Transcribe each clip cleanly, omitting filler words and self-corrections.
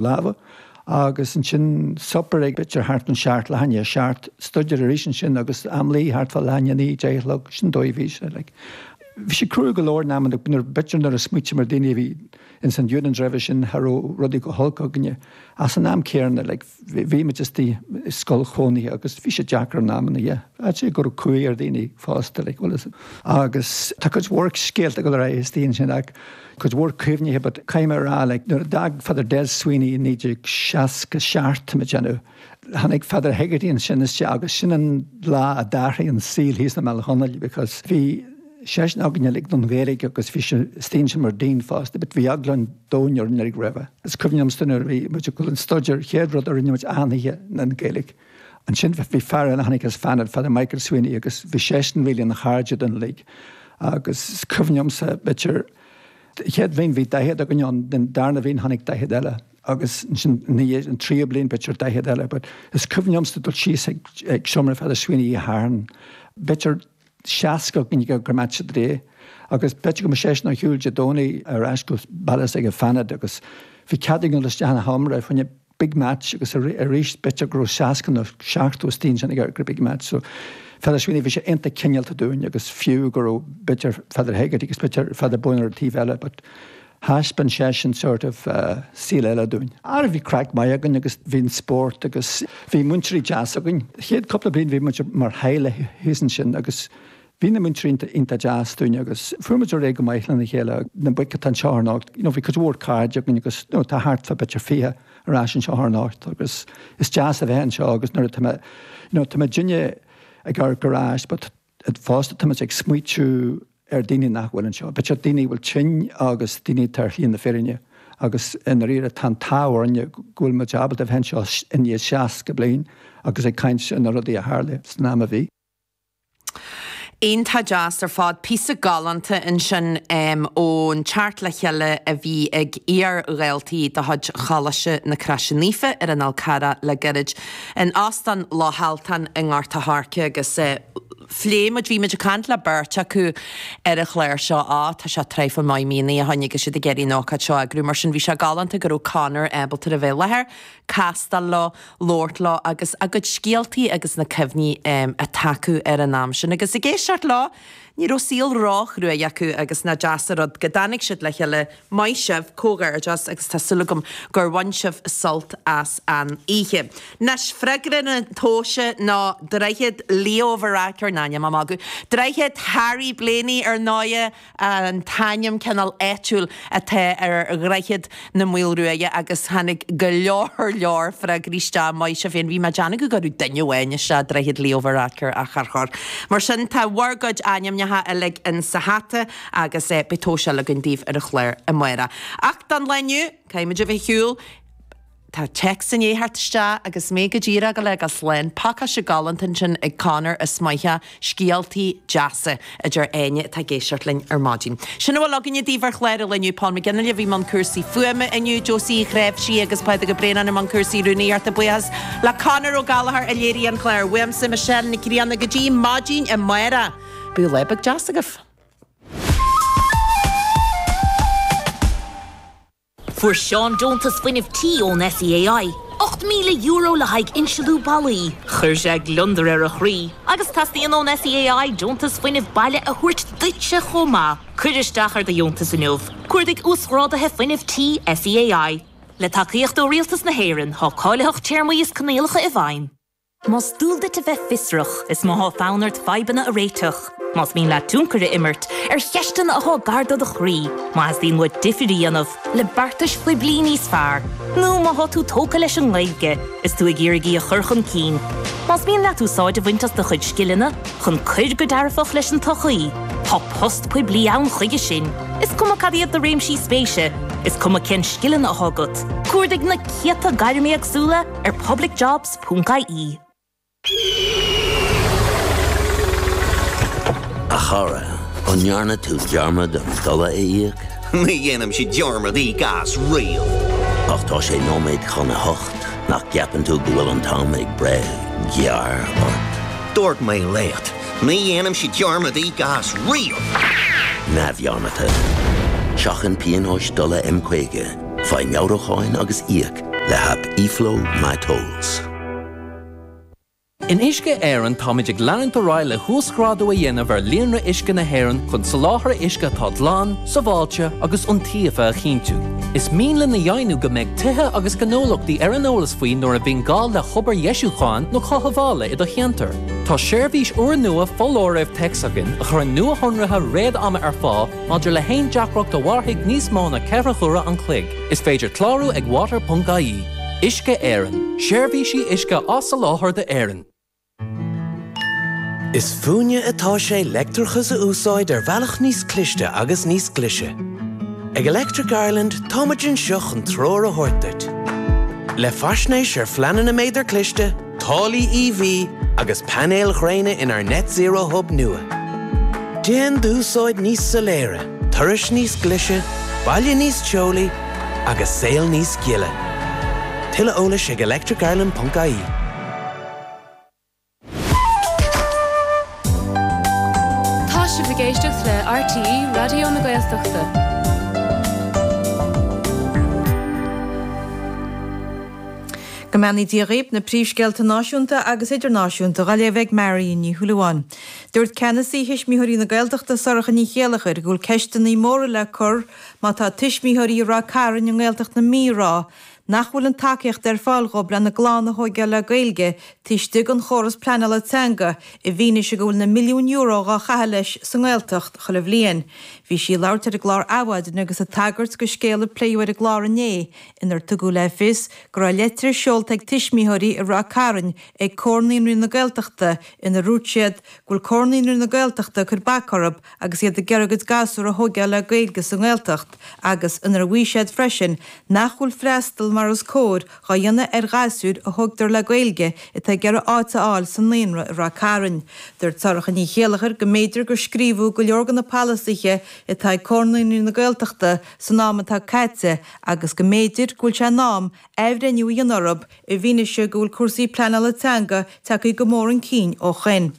Lámha agus ansin suipéar ag b'fhéidir thart an seacht, leath i ndiaidh a seacht, stuidéar arís ansin agus am luí thart fá leath i ndiaidh a naoi, deich a chlog, sin dóigh a bhí sé like. Bhí sé crua go leor in amanna nuair b'fhéidir nuair a smaoitím ar daoine a bhí ins an unions roimhe sin cha raibh rudaí go holc againne ach san am céanna like bhí muid istigh i scoil chónaithe agus bhí sé deacair in amanna yeah. I'd say go raibh cumhaidh ar dhaoine fosta like bhfuil fhios agus tá cuid mhór scéalta ag dul ar aghaidh istigh ansin ach cuid mhór cuimhnithe but caithfidh mé a rá like nuair a d'fhág Father Des Sweeney i 1967 tá mé ag déanamh tháinig Father Hegarty ansin isteach agus sin an lá a d'athraigh an saol thíos i mBealach Chonaill because bhí seisean againn uilig don Ghaeilge agus bhí sé istigh ansin mar Dean fosta but bhí eagla an domhain orainn uilig roimhe. Is cuimhin liomsa nuair a bhí muid ag dul an stuidéar chéad rud a rinne muid achan oíche ná an Ghaeilge. Ansin bhí fear eile a tháinig as Fanad, Father Michael Sweeney agus bhí seisean really ina chairde dúinn uilig agus is cuimhin liomsa b'fhéidir chéad bhliain bhí 40 againn ann, den darna bhliain tháinig 40 eile agus ansin ina dhiaidh an tríú bliain b'fhéidir 40 eile but is cuimhin liomsa dul síos ag ag seomra Father Sweeney Oíche Shathairn b'fhéidir 60 againn ag Match of the Day agus b'fhéidir go mbeadh seisean ar shiúl Dé Domhnaigh ar ais go baile s'aige Fanad agus bhí cead againn dul isteach ina sheomra fá choinne big match agus arís b'fhéidir go raibh 60 nó 70 istigh ansin ag an big match so Father Sweeney bhí sé iontach cineálta dúinn agus fiú go raibh b'fhéidir Father Hegarty agus b'fhéidir Father Boyne ar an taobh eile but thaispeáin seisean sort of saol eile dúinn. Ara bhí craic maith againn agus bhí an spórt agus bhí múinteoirí deas againn. Chéad cúpla bliain bhí muid mar theaghlach thíos ansin agus Bhí na múinteoirí iontach deas dúinn agus fuair muid ar aghaidh go maith lena chéile. Na boic atá anseo anocht, you know, bhí cuid mhór cairde againn agus you know, tá thart fá b'fhéidir 20 ar ais anseo anocht agus is deas a bheith anseo agus nuair atá mé, you know, tá muidinne ag amharc ar ais but fosta tá muid ag smaoitiú ar daoine nach bhfuil anseo. B'fhéidir daoine a bhfuil tinn agus daoine atá ar shlí na fírinne agus i ndáiríre tá an t-ádh orainne go bhfuil muid ábalta a bheith anseo i ndiaidh 60 bliain agus ag caint ar na rudaí a tharla san am a bhí. Iontach deas ar fad. Píosa galánta ansin ón teacht le chéile a bhí ag iar-dhaltaí de chuid Choláiste na Croise Naofa ar an Fhál Carrach le gairid in Óstán Loch Altan i nGort a' Choirce agus phléigh muid, bhí muid ag caint le beirt acu ar an chlár seo, á tá sé traidhfil maith míonna ó shin agus iad ag iarraidh an ócáid seo a eagrú mar sin bhí sé galánta go raibh Conor ábalta a bheith i láthair, castáil leo, labhairt leo agus a gcuid scéaltaí agus na cuimhní atá acu ar an am sin. Agus ag éisteacht leo, ní raibh saol róchruaidh acu agus nach deas an rud go dtáinig siad le chéile. Maith sibh, comhghairdeas agus tá súil agam gur bhain sibh sult as an oíche. Anois, freagra na tomhaise ná Droichead Leo Varadkar, ná níl mé ag magadh, Droichead Harry Blaney ar ndóighe, an t-ainm cineál áitiúil atá ar Dhroichead na Maoilruaidhe agus tháinig go leor leor freagraí isteach, maith sibh féin, bhí mé ag déanamh go gcuirfeadh duine amháin isteach Droichead Leo Varadkar ach char chuir. Mar sin tá bhur gcuid ainmneacha uilig in sa hata agus beidh tomhas eile againn daoibh ar an chlár amárach. Ach don lá inniu, caithfimid a bheith ar shiúl. Tá téacs i ndiaidh theacht isteach agus mé go díreach ag dul a fhágáil slán. Pacáiste galánta ansin ag Conor is maith scéaltaí deasa a deir éinne atá ag éisteacht linn ar maidin. Sin a bhfuil againne daoibh ar chlár an lae inniu. Paul McGinley a bhí i mbun cúrsaí fuaime inniu, Josie Uí Chnáimhsí agus Pádraig Ó Braonáin i mbun cúrsaí rúnaíochta. Buíochas le Conor Ó Gallchóir a léirigh an clár. Uaimse Michelle Nic Grianna go dtí maidin amárach. Bíodh lá beag deas agaibh. Fuair Seán deontas fuinnimh tí ón SEAI, €8,000 le haghaidh insealú ballaí. Chuir sé gliondar ar a chroí agus teastaíonn ón SEAI deontas fuinnimh baile a thabhairt duitse chomh maith. Cuir isteach ar do dheontas inniu. Cuardaigh Uasghráduithe Fuinnimh Tí SEAI. Le tacaíocht ó Rialtas na hÉireann, tá cáilitheacht, téarmaí is coinníollacha i bhfeidhm. Más dual duit a bheith fiosrach, is má tá fonn ort fadhbanna a réiteach, más mian leat tionchar a imirt ar cheisteanna atá gar do do chroí, má theastaíonn uait difir a dhéanamh le beartais phoiblí níos fearr, nó má tá tú tógtha leis an nGaeilge is tú ag iarraidh í a chur chun cinn, más mian leat úsáid a bhaint as do chuid scileanna chun cuir go dearfach leis an tsochaí, tá post poiblí ann chuige sin. Is cuma cad iad do réimsí spéise, is cuma cén scileanna atá agat, cuardaigh na céadta gairm éagsúla ar publicjobs. Ponc ie. A chara, an ndearna tú dearmad an dola a íoc? Ní dhéanaimse dearmad íoc as riamh. Ach tá sé nóiméad chun a hocht, nach gceapann tú go bhfuil an t-am ag breith gearr ort? Dúirt mé leat, ní dhéanaimse dearmad íoc as riamh! Neamhdhearmadta. Seachain pionóis dola M50, faigh meabhrúcháin agus íoc. Le haip eFlow MyTolls. In Uisce Éireann táimid ag leanúint ar aghaidh le huasghrádú a dhéanamh ar líonra uisce na hÉireann chun soláthar uisce atá glan, sábháilte agus iontaofa a chinntiú. Is mian linn a dheimhniú go mbeidh tithe agus gnólachtaí ar an eolas faoi nuair a bhíonn gá le hobair dheisiúcháin nó chothabhála i do cheantar. Tá seirbhís úrnua foláirimh téacs againn a chuireann nuashonruithe réad-ama ar fáil maidir le haon deacracht a mhairfidh níos mó ná 4 huaire an chloig. Is féidir clárú ag water.ie. Uisce Éireann, seirbhísí uisce á soláthar d'Éirinn. Is fúinne atá sé leictreachas a úsáid ar bhealach níos cliste agus níos glaise. Ag Electric Ireland táimid anseo chun treoir a thabhairt duit. Le faisnéis ar phleananna méadar cliste, táillí EV agus painéil ghréine inár Net Zero Hub nua. Déan d'úsáid níos soiléire, turais níos glaise, baile níos teolaí agus saol níos gile. Tuilleadh eolais ag electricireland.ie. Tá sibh ag éisteacht le RTÉ Raidió na Gaeltachta. Go mbeannaí Dia dhaoib, na príomhscéalta náisiúnta agus idirnáisiúnta dhá léamh ag Marion Ní Shúilleabháin. Dúirt ceannasaí Thuismitheoirí na Gaeltachta Sorcha Ní Chéilleachair go bhfuil ceisteanna móra le cur má tá tuismitheoirí i Ráth Cairn i nGaeltacht na Mí ag rá nach bhfuil an tacaíocht ar fáil dhóibh lena gclann a thóigeáil le Gaeilge taobh istigh den chóras pleanála teanga i bhfianaise go bhfuil na milliúin euro dhá chaitheamh leis sa nGaeltacht chuile bhliain. Bhí sí ag labhairt ar an gclár Adhmhaidin agus ag tagairt go scéal a pléadh ar an gclár inné inar tugadh le fios go raibh leitir seolta ag tuismitheoirí i Ráth Cairn ag Comhar Naíonraí na Gaeltachta inar dhúirt siad go bhfuil Comhar Naíonraí na Gaeltachta ag cur bac orthu agus iad ag iarraidh a gcuid gasúr a thóigeáil le Gaeilge sa nGaeltacht agus inar mhaígh siad freisin nach bhfuil freastal mar is cóir dhá dhéanamh ar ghasúir a thógtar le Gaeilge atá ag iarraidh áit a fháil sa naíonra i Ráth Cairn. Dúirt Sorcha Ní Chéilleachair go mb'fhéidir gur scríobhadh go leor de na polasaithe atá ag Comhar Naíonraí na Gaeltachta san am atá caite agus go mb'fhéidir go bhfuil sé in am athbhreithniú a dhéanamh orthu i bhfianaise go bhfuil cúrsaí pleanála teanga tagtha go mór chun cinn ó shoin.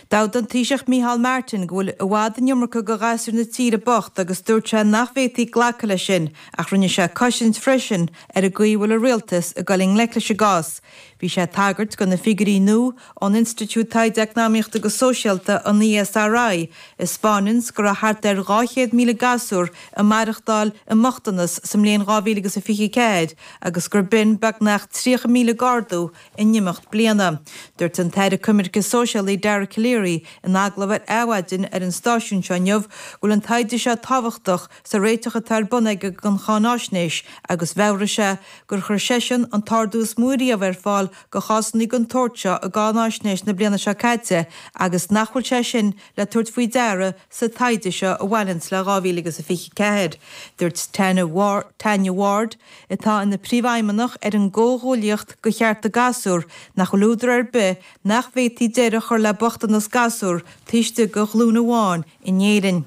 D'admhaigh an Taoiseach Micheál Martin go bhfuil i bhfad an iomarca de ghasúir na tíre bocht agus dúirt sé nach bhféadfaí glacadh leis sin ach rinne sé cosaint freisin ar an gcaoi a bhfuil an rialtas ag dul i ngleic leis an gcás. Bhí sé ag tagairt do na figiúirí nua ón Institiúid Taighde Eacnamaíochta agus Sóisialta, an ESRI, a 'spáineanns go raibh thart ar 200,000 gasúr ag maireachtáil i mbochtanas sa mbliain 2024 agus gur b'in beagnach 30,000 d'ardú in imeacht bliana. Dúirt an tAire Coimirce Sóisialaí Dara Calleary in agallamh ar Adhmhaidin ar an stáisiún seo inniu go bhfuil an taighde seo tábhachtach sa réiteach atá ar bun aige don cháináisnéis agus mheabhraigh sé gur chuir seisean an t-ardú is mó riamh ar fáil do chásanna den tsórt seo i gcáináisnéis na bliana seo caite agus nach bhfuil sé sin le tabhairt faoi deara sa taighde seo a bhaineanns le 2024. Dúirt Tanya Ward, atá ina príomhfheidhmeannach ar an gComhghuaillíocht do Chearta Gasúr, nach bhfuil údar ar bith nach bhféadfaí deireadh a chur le bochtanas gasúr taobh istigh de ghlúin amháin in Éirinn.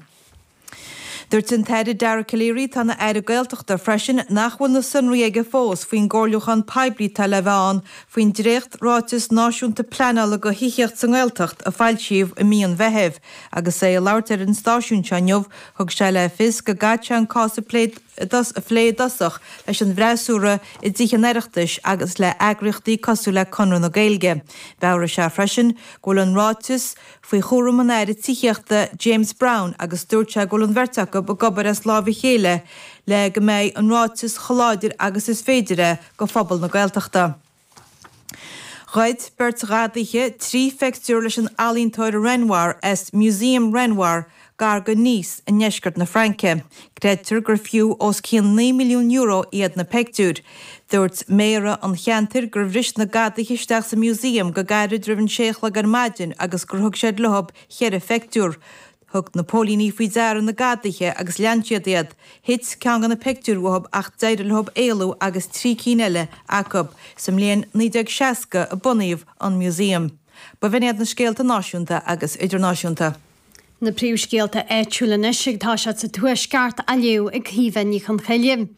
Dúirt an tAire Dara Calleary, atá ina Aire Gaeltachta freisin, nach bhfuil na sonraí aige fós faoin gcomhairliúchán poiblí atá le bheith ann faoin dréacht-Ráiteas Náisiúnta Pleanála do Thithíocht sa nGaeltacht a foilsíodh i mí an Mheithimh. Agus é ag labhairt ar an stáisiún seo inniu, thug sé le fios go gcaithfidh sé an cás a phlé i dtosach leis an bhfreasúra i dTithe an Oireachtais agus le heagraíochtaí cosúil le Conradh na Gaeilge. Mheabhraigh sé freisin go bhfuil an ráiteas faoi chúram an Aire Tithíochta James Browne agus dúirt sé go bhfuil an bheirt acu ag obair as láimh a chéile le go mbeidh an ráiteas chomh láidir agus is féidir é do phobal na Gaeltachta. Ghoid beirt ghadaithe 3 phictiúr leis an ealaíontóir Renoir as Museum Renoir gar go Nice i ndeisceart na Fraince. Creidtear gur fiú os cionn €9 milliún iad na peictiúir. Dúirt méara an cheantair gur bhris na gadaithe isteach sa museum go gairid roimh an sé a chlog ar maidin agus gur thug siad leob cheithre pheictiúr. Thug na póilíní faoi deara na gadaithe agus lean siad iad. Thit ceann de na peictiúir uathub ach d'éirigh leob éalú agus 3 cinn eile acu. Sa mbliain 1960 a bunaíodh an museum. Ba bh'in iad na scéalta náisiúnta agus idirnáisiúnta. Na príomhscéalta áitiúla anois ag toiseacht sa Tuaisceart á léamh ag Caoimhe Ní Chonchoille.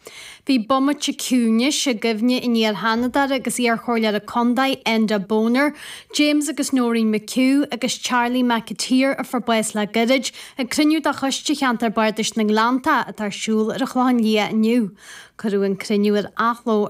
Bhí bomaite ciúnais i gcuimhne an iar-Sheanadóra agus iar-Chomhairleora Contae Enda Boner, James agus Noreen McHugh agus Charlie McAteer a fuair bás le gairid ag cruinniú de Choiste Cheantar Bardais na nGleanntach atá ar siúl ar an Chlochán Liath inniu. Cuireadh an cruinniú ar athló ar.